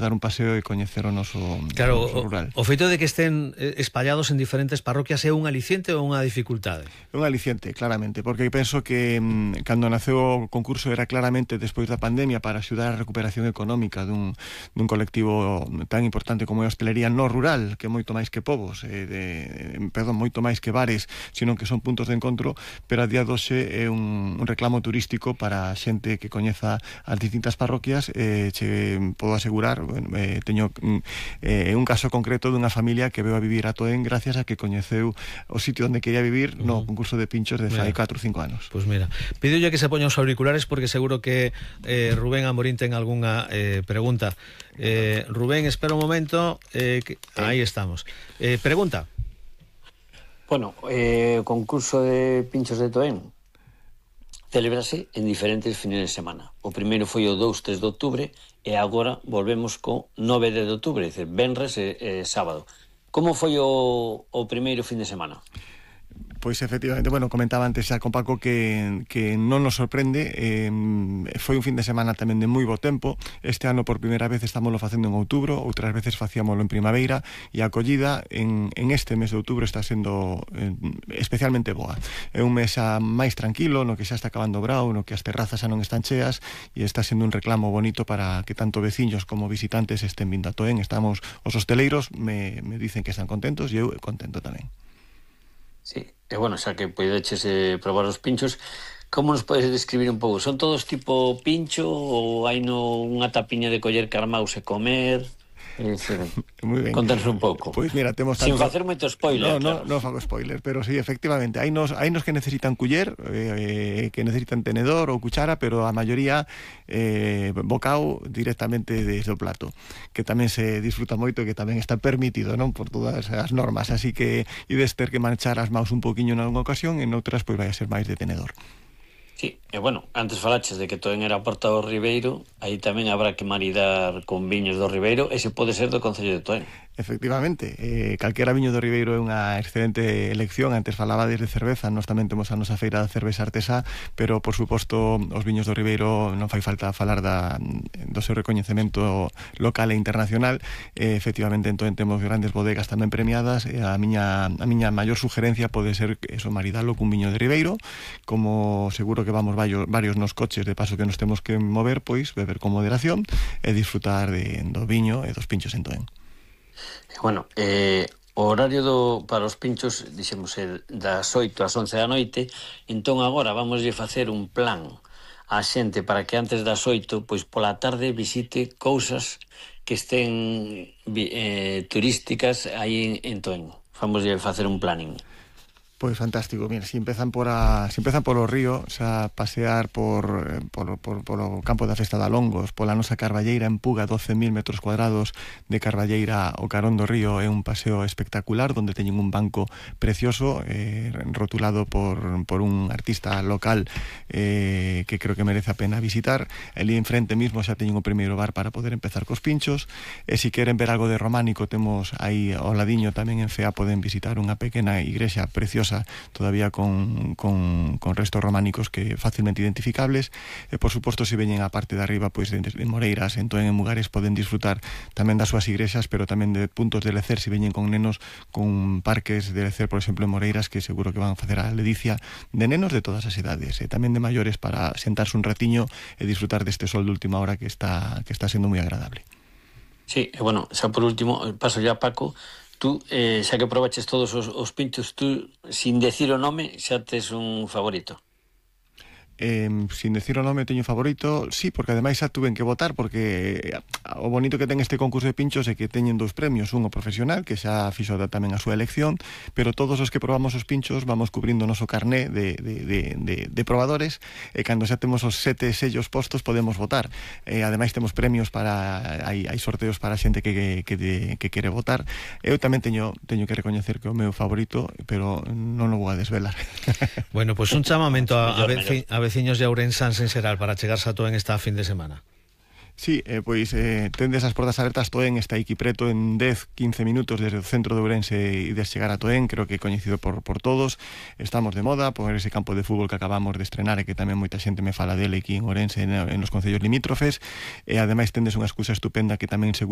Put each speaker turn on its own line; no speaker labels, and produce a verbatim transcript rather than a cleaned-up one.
dar un paseo e coñecer o noso,
claro,
o noso rural.
O, o feito de que estén espallados en diferentes parroquias é un aliciente ou unha dificultade?
É un aliciente, claramente, porque penso que mmm, cando naceu o concurso era claramente despois da pandemia para axudar a recuperación económica dun, dun colectivo tan importante como é a hostelería no rural, que é moito máis que povos, eh, de, perdón, moito máis que bares, sino que son puntos de encontro, pero a día doxe é un, un reclamo turístico para a xente que coñeza as distintas parroquias. eh, che podo asegurar, bueno, eh, teño eh, un caso concreto dunha familia que veu a vivir a Toén gracias a que coñeceu o sitio onde quería vivir no uh-huh. concurso de pinchos de fai catro ou cinco anos.
Pois pues mira, pídolle que se poña os auriculares porque seguro que eh, Rubén Amorín ten algunha eh, pregunta. eh, Rubén, espera un momento, eh, que... eh. aí estamos. eh, Pregunta.
Bueno, eh, o concurso de pinchos de Toén celebrase en diferentes fines de semana. O primeiro foi o dous, tres de outubro e agora volvemos co nove de outubro, é dicir, venres e, e sábado. Como foi o, o primeiro fin de semana?
Pois efectivamente, bueno, comentaba antes xa con Paco que, que non nos sorprende. eh, Foi un fin de semana tamén de moi bo tempo. Este ano por primeira vez estámoslo facendo en outubro, outras veces facíamoslo en primavera, e a acollida en, en este mes de outubro está sendo eh, especialmente boa. É un mes xa máis tranquilo, no que xa está acabando o brao, no que as terrazas xa non están cheas, e está sendo un reclamo bonito para que tanto veciños como visitantes estén vindo a Toén. Estamos, os hosteleiros me, me dicen que están contentos e eu contento tamén.
Sí, e bueno, xa que podeches eh, probar os pinchos, como nos podes describir un pouco? Son todos tipo pincho ou hai no unha tapiña de coller carmaus e comer? Eh, sí. Muy ben. Contanos un pouco.
Pois mira, temos tanto...
Sin facer moito spoiler.
No, no, claro. No fago spoiler, pero sí, efectivamente, hai nos, hai nos que necesitan culler, eh, que necesitan tenedor ou cuchara, pero a maioría eh, bocao directamente desde o plato, que tamén se disfruta moito e que tamén está permitido, non, por todas as normas, así que ides ter que manchar as maus un poquinho en algunha ocasión, en outras pois vai a ser máis de tenedor.
Sí, e bueno, antes falaches de que Toén era a porta do Ribeiro, aí tamén habrá que maridar con viños do Ribeiro, e se pode ser do Concello de Toén.
Efectivamente, eh, calquera viño do Ribeiro é unha excelente elección. Antes falaba desde cerveza, nós tamén temos a nosa feira de cerveza artesá, pero por suposto os viños do Ribeiro non fai falta falar da, do seu recoñecemento local e internacional. eh, Efectivamente, entón temos grandes bodegas tamén premiadas, e a miña, a miña maior sugerencia pode ser eso, maridalo cun viño de Ribeiro, como seguro que vamos varios, varios nos coches, de paso que nos temos que mover, pois beber con moderación e disfrutar de, do viño e dos pinchos en Toén.
Bueno, eh, o horario do, para os pinchos, dixemos, é das oito ás once da noite, entón agora vamos a facer un plan á xente para que antes das oito, pois pola tarde visite cousas que estén eh, turísticas aí en, en Toén. Vamos a facer un planning.
Pois fantástico, mira, si empezan por a, si empezan polo río, xa pasear por, por, por, por o campo da Festa da Longos, pola nosa Carballeira en Puga, doce mil metros cuadrados de Carballeira ao carón do río, é un paseo espectacular, donde teñen un banco precioso, eh, rotulado por, por un artista local eh, que creo que merece a pena visitar. Ali enfrente mismo xa teñen o primeiro bar para poder empezar cos pinchos, e se queren ver algo de románico, temos aí ao ladiño tamén en Cea, poden visitar unha pequena igrexa preciosa todavía con, con, con restos románicos que fácilmente identificables. E por suposto, se veñen a parte de arriba, pois de, de Moreiras, en Toén, en Mugares, poden disfrutar tamén das súas igrexas, pero tamén de puntos de lecer, se veñen con nenos, con parques de lecer, por exemplo, en Moreiras, que seguro que van a facer a ledicia de nenos de todas as edades, e tamén de maiores, para sentarse un ratiño e disfrutar deste sol de última hora que está, que está sendo moi agradable.
Sí, e bueno, xa por último, paso ya a Paco. Tú, eh, xa que probaches todos os, os pinchos, tú, sin decir o nome, xa tes un favorito?
Eh, sin decir o nome teño favorito, sí, porque ademais xa tuven que votar, porque o bonito que ten este concurso de pinchos é que teñen dous premios, un o profesional, que xa fixo tamén a súa elección, pero todos os que probamos os pinchos vamos cubrindo o noso carné de, de, de, de, de probadores, e cando xa temos os sete sellos postos podemos votar. E ademais temos premios para, hai, hai sorteos para a xente que, que, que, que quere votar. Eu tamén teño, teño que recoñecer que o meu favorito, pero non o vou a desvelar.
Bueno, pois pues un chamamento a, a, veci, a veciños de Ourensans en xeral para chegarse a Toén esta fin de semana.
Sí, eh, pois eh, tendes as portas abertas. Toén está aquí preto, en dez a quince minutos desde o centro de Ourense e de chegar a Toén, creo que é coñecido por, por todos. Estamos de moda por ese campo de fútbol que acabamos de estrenar e que tamén moita xente me fala dele aquí en Ourense, en, en os concellos limítrofes, e ademais tendes unha excusa estupenda que tamén seguro